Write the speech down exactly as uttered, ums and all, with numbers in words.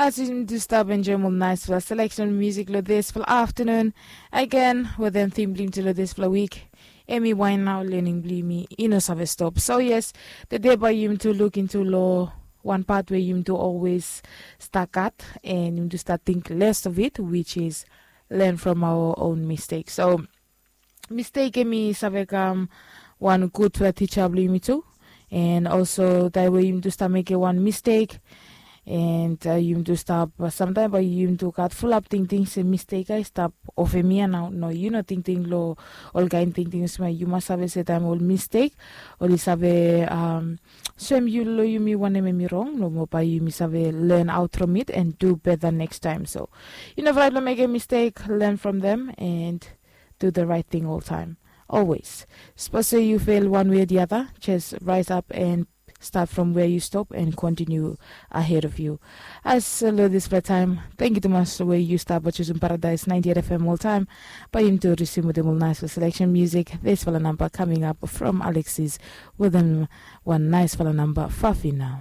As yumi tu stap enjoim ol naispela seleksen musik long dispela aftanun, agen wetem tim blong yumi tu long dispela wik, em i wain nau lening blong yumi i no save stop. So yes, tede bai yumi tu lukintu long wan pat we yumi tu olwes stakat, and yumi tu stap ting less of it, which is learn from our own mistake. So mistake em i save kam wan gudfala tija blong yumi tu. And also taim we yumi tu stap mekim wan mistake, and uh, yumi tu stap uh, samtaim bai yumi tu gat fulap tingting se mistake ai stap ofem ia nau. No, yu no tingting long ol kain tingting olsem yu mas save se taim ol mistake oli save um, soem yu long yumi wanem em i rong, nomo bai yumi save learn out from it and do better next time. So yu no fraid long mekim mistake, learn from them and do the right thing all time. Always. Suppose say you fail one way or the other, just rise up and start from where you stop and continue ahead of you. As lo dispela taim, thank you tumas we you stop by choosing Paradise ninety-eight F M all time. By him to receive with him nice selection music. This fella number coming up from Alexis with him one nice fella number Fafina.